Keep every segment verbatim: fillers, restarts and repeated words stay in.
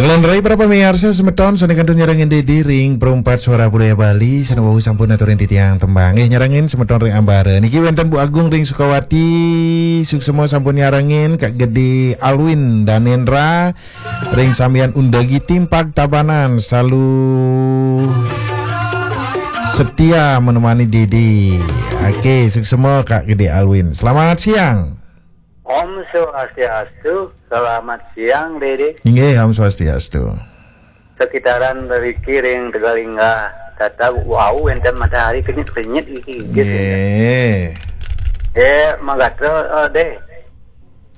Lan rai para pamiarsa semeton sane kantun nyarengin Dede ring Perumpat Suara Budaya Bali, sane wau sampun aturin titiang tembang. Nggih, nyarengin semeton ring Ambara. Niki wenten Bu Agung ring Sukawati, suksema sampun nyarengin, Kak Gede Alwin Danendra ring Sambian Undagi Timpag Tabanan, salu setia menemani Dede. Oke, suksema Kak Gede Alwin. Selamat siang. Om Swastiastu, selamat siang, Dede. Inggih, Om Swastiastu. Sekitaran mriki ring Tegalinga, tata wau wenten matahari kenyit-kenyit iki, inggih, nggih. Eh, magatra, eh, Deh.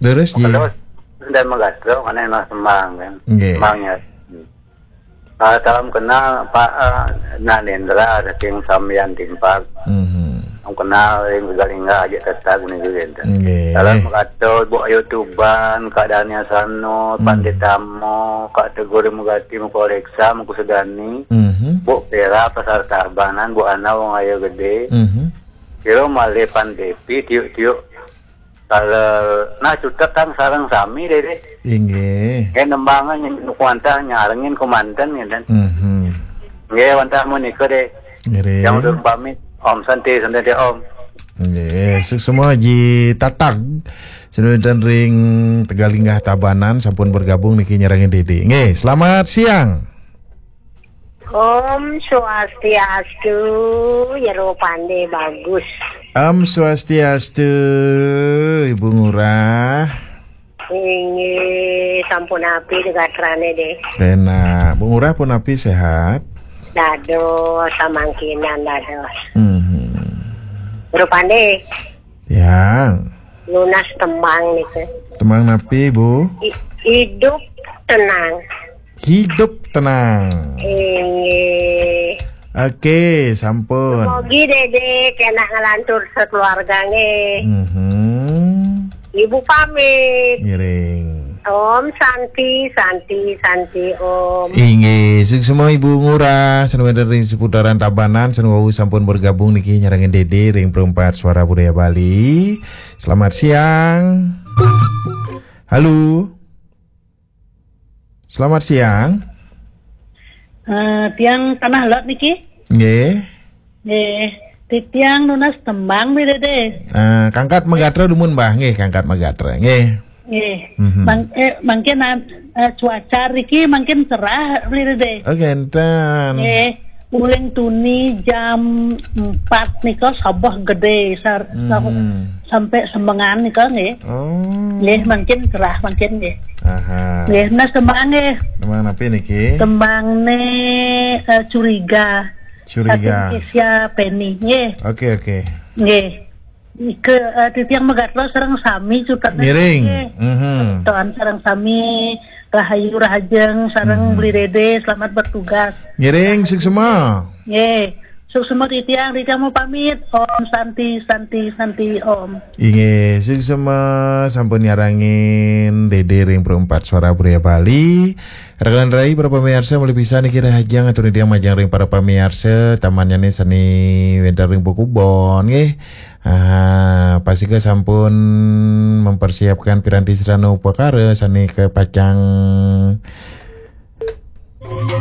Terus, Ji? Terus, dan magatra, karena enak sembang, kan. Nggih. Sembangnya. Ah, salam kenal Pak, ah, Nanendra saking Sambian Timpag. Mhm. Salam kenal ring Galingga aja tetap guna juga ente. Nggih. Salam kata Bu Ayu Tuban, Kak Dania Sano, Hmm. Pandit Tamo, Kak Tegur Mugati, Mukoreksa, Mukusudani, Mhm. Bu Pera, Pasar Tabanan, Bu Ana, Wong Ayo Gede. Mhm. Kira malih Pan Depi, tiuk-tiuk. Kalau nah cutet kan sareng sami, Dede. Inggih. Nggih, nembangan nuku wantah nyarengin kemanten, ngenten. Mhm. Nggih, wantah menika, Dede. Ngiring. Yang udah pamit. Om Santi, Santi, Om. Nggih, suksema Ji Tatag. Senulitan ring Tegalinggah Tabanan sampun bergabung niki nyarengin Dede. Nggih, selamat siang. Om Swastiastu, Jero Pande bagus. Om Swastiastu, Ibu Ngurah. Inggih, sampun api di gatrane, Deh. Enak. Bu Ngurah pun api sehat? Dados, samangkinan dados. Mhm. Jero Pande. Ya. Nunas tembang nih, Teh. Tembang napi, Bu? I-, hidup tenang. Hidup tenang. Inggih. Oke, sampun. Mugi Dede kena ngelantur sekeluarga nggih. Mhm. Ibu pamit. Ngiring. Om Santi, Santi, Santi, Om. Inggih, suksema Ibu Ngurah, sane wenten ring seputaran Tabanan, sane wau sampun bergabung niki nyarengin Dede ring Perumpat Suara Budaya Bali. Selamat siang. Halo. Selamat siang. Eh, tiang Tanah Lot niki. Nggih. Nggih. Titiang nunas tembang nih, Dede. Eh, kangkat magatra dumun, Mbah, nggih, kangkat magatra, nggih. Nggih. Mhm. Mang-, eh, mangkin, eh, cuaca riki mangkin cerah, Dede. Oh, ngenten. Nggih. Uling tuni jam empat nika sabeh gede sar-, Mhm. sampai semengan nika nggih. Oh. Nggih, mangkin cerah mangkin nggih. Aha. Nggih, nah tembang nggih. Tembang napi niki? Tembang ne, eh, Curiga. Curiga. Saking Kesia Penny nggih. Oke, oke. Nggih. Ike, eh, titiang magatra sareng sami cutetne. Ngiring. Nggih. Mhm. Tuan sareng sami rahayu rahajeng sareng Mhm. Beli Dede, selamat bertugas. Ngiring, suksema. Nggih. Suksema titiang, titiang mau pamit. Om Santi, Santi, Santi, Om. Inggih, suksema sampun nyarengin Dede ring Perumpat Suara Budaya Bali. Rekan rai para pamiarsa, malih pisan niki rahajeng atur titiang majeng ring para pamiarsa, tamannyane sane wenten ring Pakubon nggih. Ah, pastika sampun mempersiapkan piranti sarana upakara sane kapacang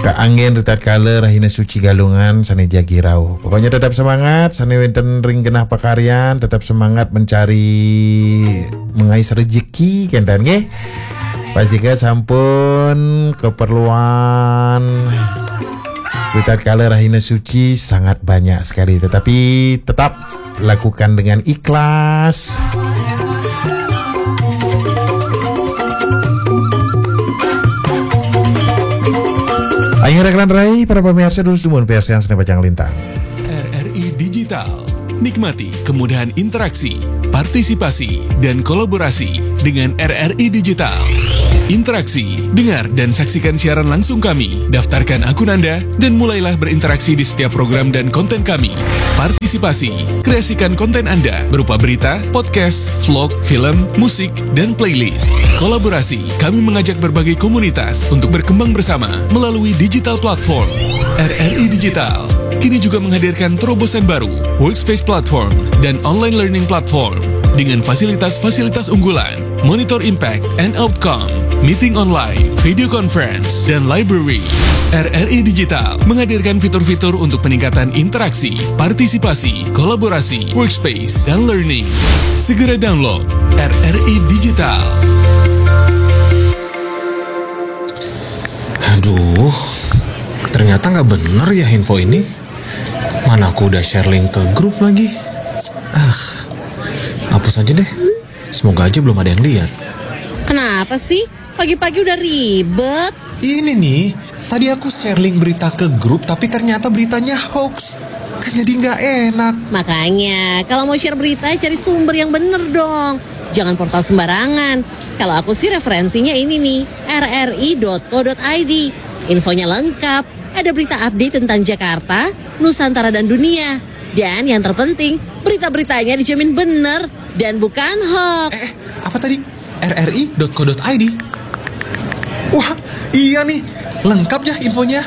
kaanggen ritatkala rahina suci Galungan sane jagi rauh. Pokoknya tetap semangat, sane wenten ring genah pakaryan, tetap semangat mencari, mengais rezeki, kenten nggih. Pastika sampun keperluan ritatkala rahina suci sangat banyak sekali, tetapi tetap lakukan dengan ikhlas. Ayo rekan rai, para pemirsa, dulu semua pemirsa yang sane pacang lintang. R R I Digital. Nikmati kemudahan interaksi, partisipasi, dan kolaborasi dengan R R I Digital. Interaksi, dengar, dan saksikan siaran langsung kami. Daftarkan akun Anda dan mulailah berinteraksi di setiap program dan konten kami. Partisipasi, kreasikan konten Anda berupa berita, podcast, vlog, film, musik, dan playlist. Kolaborasi, kami mengajak berbagai komunitas untuk berkembang bersama melalui digital platform. R R I Digital kini juga menghadirkan terobosan baru, Workspace Platform, dan Online Learning Platform, dengan fasilitas-fasilitas unggulan, Monitor Impact and Outcome, meeting online, video conference, dan library. R R I Digital menghadirkan fitur-fitur untuk peningkatan interaksi, partisipasi, kolaborasi, workspace, dan learning. Segera download R R I Digital. Aduh, ternyata nggak bener ya info ini. Mana aku udah share link ke grup lagi. Ah, hapus aja deh. Semoga aja belum ada yang lihat. Kenapa sih? Pagi-pagi udah ribet. Ini nih, tadi aku share link berita ke grup tapi ternyata beritanya hoax. Kan jadi nggak enak. Makanya, kalau mau share berita, cari sumber yang bener dong. Jangan portal sembarangan. Kalau aku sih referensinya ini nih, R R I dot co dot I D. Infonya lengkap, ada berita update tentang Jakarta, Nusantara dan dunia. Dan yang terpenting, berita-beritanya dijamin bener dan bukan hoax. Eh, apa tadi? R R I dot co dot I D. Wah, iya nih, lengkap ya infonya.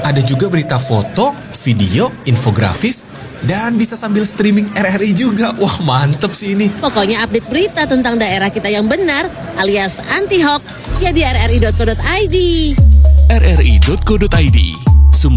Ada juga berita foto, video, infografis, dan bisa sambil streaming R R I juga. Wah, mantep sih ini. Pokoknya update berita tentang daerah kita yang benar alias anti hoax ya di R R I dot co dot I D. R R I dot co dot I D.